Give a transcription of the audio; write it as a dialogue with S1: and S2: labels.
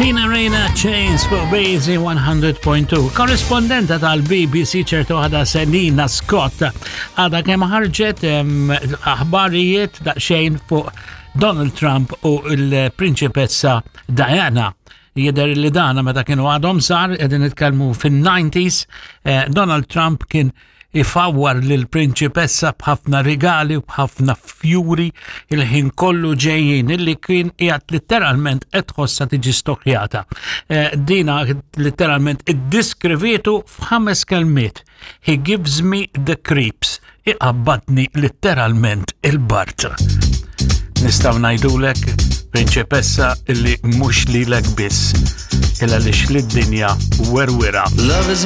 S1: Tina Reina Chains fuq Bazy 100.2. Korrispondenta tal-BBC ċertu għada Selina Scott għada kemm ħarġet aħbarijiet daqsxejn fuq Donald Trump u l-prinċipessa Diana. Jidher li dana meta kienu għadhom sar, qegħdin nitkellmu fin-90s, eh, Donald Trump kien ifawwar lil prinċipessa b'ħafna rigali u b'ħafna fjuri il-ħin kollu ġejjin illi kien qiegħed litteralment qed tħossha tiġi stokjata. Eh, dina litteralment iddiskrivitu f'ħames kelmiet. He gives me the creeps. Iqabbadni litteralment il-bart. Nistgħu ngħidulek prinċipessa illi mhux lilek biss, illa li lid-dinja werwira.